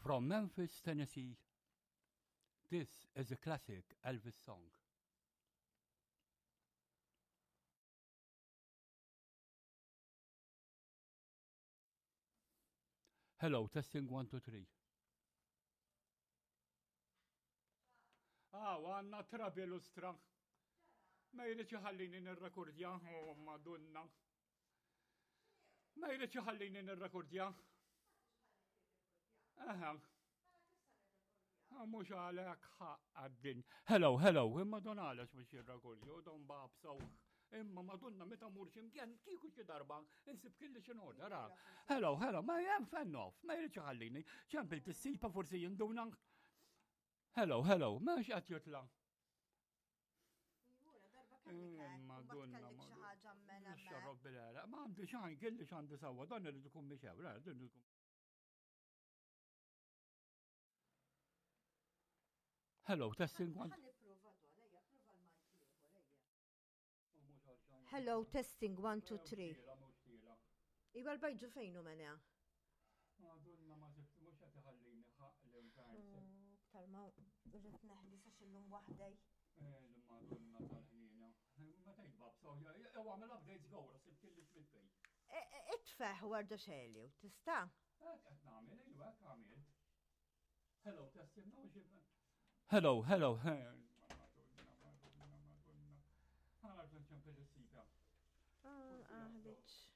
From Memphis, Tennessee, this is a classic Elvis song. Hello, testing 1, 2, 3. Ah, għanna trabi lustra. Ma jridx iħallini nirrekordja, oh, madonna. Ma jridx iħallini nirrekordja. Aha. Ah, mhux għalhekk għaddin. Hello, hello, imma don għalax biex jirrekordja, don babsaw. Imma madonna meta mur ximkien kieku xi darba insib kelli xi norda ra. Hello, hello, ma jem fan off, ma jridx iħallini. Ċempil tissipa forsi jinduna. Hello, hello, ma qed jitla'. Madonna, madonna. Xarrob bil-għera. Ma għandi xajn, kelli xandi sawa, dan irrid ikun mixew, ra, dan irrid ikun. Hello, testing one. Hello, testing 1, 2, 3. Iwa l-bajġu fejnu mena? Madonna ma sibt mhux qed iħallini ħaq l-infern. Iktar ma rrid neħli sa xillum waħdej. Eh, Madonna tal-ħnina. Ma tgħid babsa, jew għamel updates gowra sibt kelli tmitt bej. E, e, itfeħ warda xeli u tista'. Hekk qed nagħmel, iva hekk għamilt. Hello, testing, no, Hello, hello. Ah, ah, bitch.